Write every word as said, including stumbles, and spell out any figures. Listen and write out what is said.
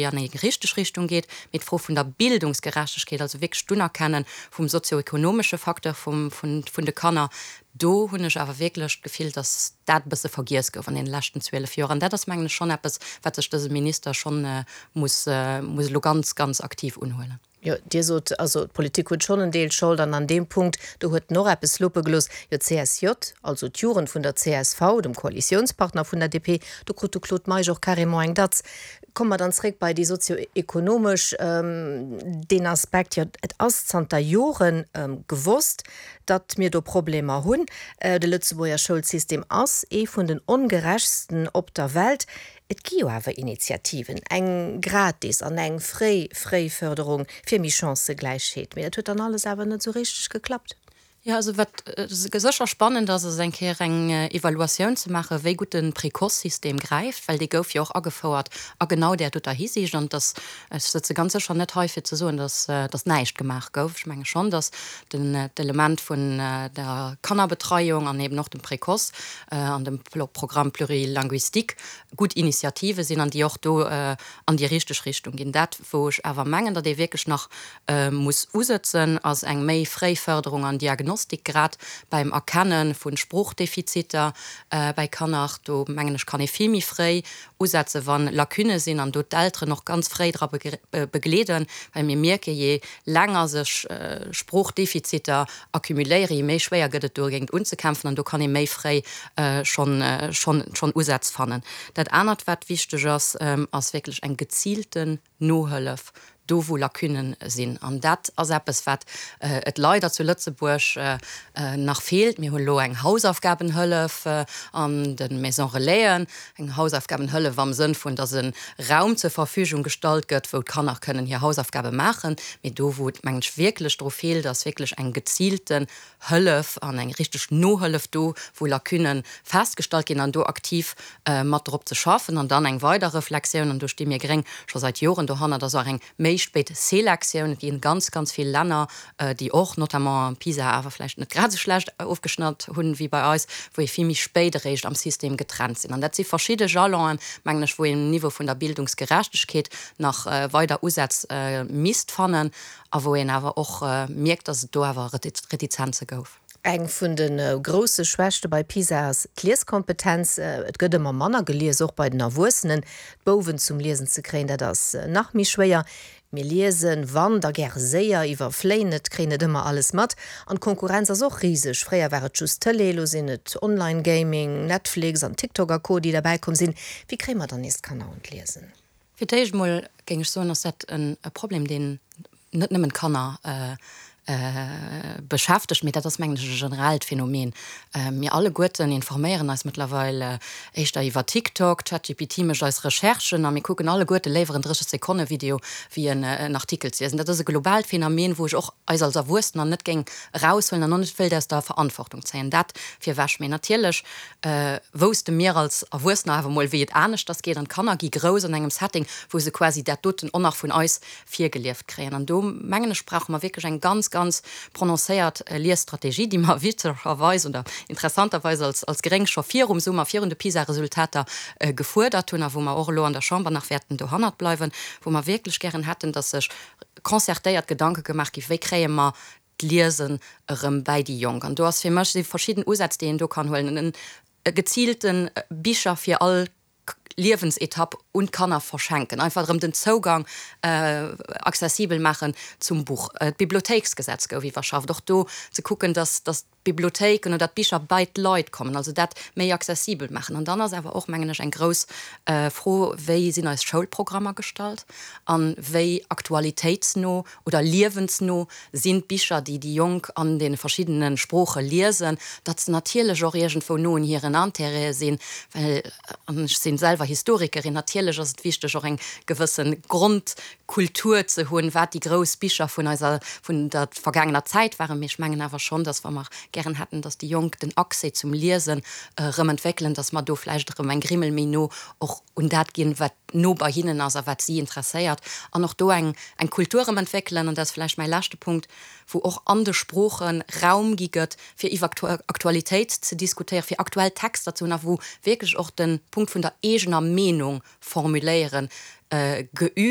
an eng richteg Richtung geet, mee d'Fro vun der Bildungsgerechtegkeet, also wierklech d'Unerkenne vum sozioekonomesche Facteur vum, vun, vun de Kanner, do hunn ech awer wierklech d'Gefill, dass dat e bësse vergiess gouf an deene leschten zwielef Joer. An dat ass, mengen ech, schonn eppes, wat sech dëse Minister schonn muss, muss elo ganz, ganz aktiv unhuelen. Jo, Dir sot, also d'Politik huet schonn en Deel Schold an an deem Punkt, do huet en och eppes lappe gelooss. Jo, d'C S J, also d'Jugend vun der C S V, dem Koalitiounspartner vun der D P, do krut de Claude Meisch och carrément eng Datz. Komme mer dann zréck bei déi sozioekonomesch, deen Aspekt. Jo, et ass zanter Joren gewosst, datt mir do Problemer hunn. De Lëtzebuerger Schoulsystem ass ee vun den ongerechtsten op der Welt. Et gi jo awer Initiativen, eng gratis an eng fréi Fréifërderung fir méi Chancëgläichheet, mee dat huet dann alles awer net esou richteg geklappt. Jo, also wat sécher spannend ass, ass eng Kéier eng Evaluatioun ze maachen, wéi gutt de Précoce-System gräift, well dee gouf jo och agefouert a genau där doter Hisiicht. An dass, ech sëtze ganz sécher net hei fir ze soen, dass, dass näischt gemaach gouf. Ech menge schonn, dass den, d'Element vun der Kannerbetreiung an eben och dem Précoce an dem Programme plurilinguistique gutt Initiative sinn an déi och do an déi richteg Richtung ginn. Dat, wou ech awer mengen, datt ee wierklech nach muss usëtzen, ass eng méi fréi Fërderung an Diagnostik, grad beim Erkenne vu Sproochdefiziter bei Kanner. Do mengen ech, kann ee vill méi fréi usetzen, wa Lacunne sinn, an do d'Elteren och ganz fréi dra begleeden, well mir mierke, jee länger sech Sproochdefiziter accumuléieren, jee méi schwéier gëtt et dogéint unzekämpfen, an do kann ee méi fréi schonn schonn Usätz fannen. Dat anert, wat wichteg ass, ass wierklech eng geziilten Nohëllef do, wou Lacunnen sinn. An dat ass eppes, wat et leider zu Lëtzebuerg nach feelt. Mir hunn elo eng Hausaufgabenhëllef an de Maisons Relaisen, eng Hausaufgabenhëllef am Sënn vun, dass e Raum zur Verfügung gestallt gëtt, wou d'Kanner kënnen hir Hausaufgabe maachen. Mee do, wou et, mengen ech, wierklech dru feelt, ass wierklech eng geziilten Hëllef an eng richteg Nohëllef do, wou Lacunne festgestallt ginn, an do aktiv mat drop ze schaffen. An dann eng weider Reflexioun, an do sti mir Gréng scho seit Joren dohannert, ass och eng méi spéit Selektioun. Et ginn ganz, ganz vill Länner, déi och notamment PISA awer vläicht net grad esou schlecht ofgeschnatt hunn wéi bei eis, wou ee vill méi spéit eréischt am System getrennt sinn. An dat si verschidde Jalonen, mengen ech, wou een um Niveau vun der Bildungsgerechtegkeet nach weider Usätz misst fannen a wou een awer och mierkt, dass et do awer Retizenze gouf. Eng vun de grousse Schwächte bei PISA ass d'Lieskompetenz. Et gëtt ëmmer manner gelies, och bei den Erwuessenen. D'Bouwen zum Liesen ze kréien, dat ass nach méi schwéier. Mir liesen, wann, da gäre séier, iwwerfléien et, kréien net ëmmer alles mat. An d'Konkurrenz ass och riseg. Fréier war et just d'Tëlee, elo sinn et Online-Gaming, Netflix an TikTok a Co. Déi derbäi komm sinn. Wéi kréie mer dann nees d'Kanner un d'Liesen? Fir d'éischt emol géing ech soen, ass dat e Problem, deen net nëmmen d'Kanner beschäftegt, mee dat ass, mengen ech, e generellt Phänomen. Mir alleguerten informéieren eis mëttlerweil éischter iwwer TikTok, ChatGPT mécht eis Recherchen a mir kucken alleguerte léiwer en drësseg-Sekonne-Video wéi en Artikel ze liesen. Dat ass e globaalt Phänomen, wou ech och eis als Erwuessener net géing eraushuelen an och net wéilt aus der Verantwortung zéien. Dat virwech. Mee natierlech wousste mir als Erwuessener awer mol, wéi et aneschters geet, an d'Kanner gi grouss an engem Setting, wou se quasi dat doten och nach vun eis virgelieft kréien. An do, mengen ech, brauche mer wierklech eng ganz, ganz prononcéiert Liesstrategie, déi mer witzegerweis oder interessanterweis als, als Gréng scho virum Summer, virun de PISA-Resultater gefuerdert hunn a wou mer och elo an der Chamber nach wäerten dohannert bleiwen, wou mer wierklech gären hätten, dass sech concertéiert Gedanke gemaach gi, wéi kréie mer d'Liesen erëm bäi déi Jonk. An do ass fir mech, si verschidden Usätz, déi een do kann huelen, e geziilte Bicher fir all Liewensetapp un d'Kanner verschenken, einfach erëm den Zougang accessibel maachen zum Buch. D'Bibliothéiksgesetz gouf iwwerschafft, och do ze kucken, dass dass d'Bibliothéiken oder d'Bicher bei d'Leit kommen, also dat méi accessibel maachen. An dann ass awer och, mengen ech, eng grouss Fro, Wéi sinn eis Schoulprogrammer gestallt a wéi aktualitéitsno oder liewensno sinn d'Bicher, déi déi Jonk an deene verschiddene Sprooche liesen, datt se natierlech och iergendwou no un hiren Intérêtë sinn, well, an ech si selwer Historikerin, natierlech ass et wichteg, och eng gewësse Grondkultur ze hunn, wat déi grouss Bicher vun eiser, vun der vergaangener Zäit waren. Mee ech mengen awer schonn, datt, wa mer gären hätten, datt déi Jonk den Accès zum Liesen erëm entwéckelen, datt mer do vläicht erëm eng Grimmel méi no och un dat ginn, wat no bei hinnen ass a wat si interesséiert, an och do eng eng Kultur erëm entwéckelen, an dat ass vläicht mäi leschte Punkt, wou och an de Sprooche Raum gi gëtt, fir iwwer Aktualitéit ze diskutéieren, fir aktuell Texter ze hunn a wou wierklech och de Punkt vun der eegener Meenung formuléieren geübt.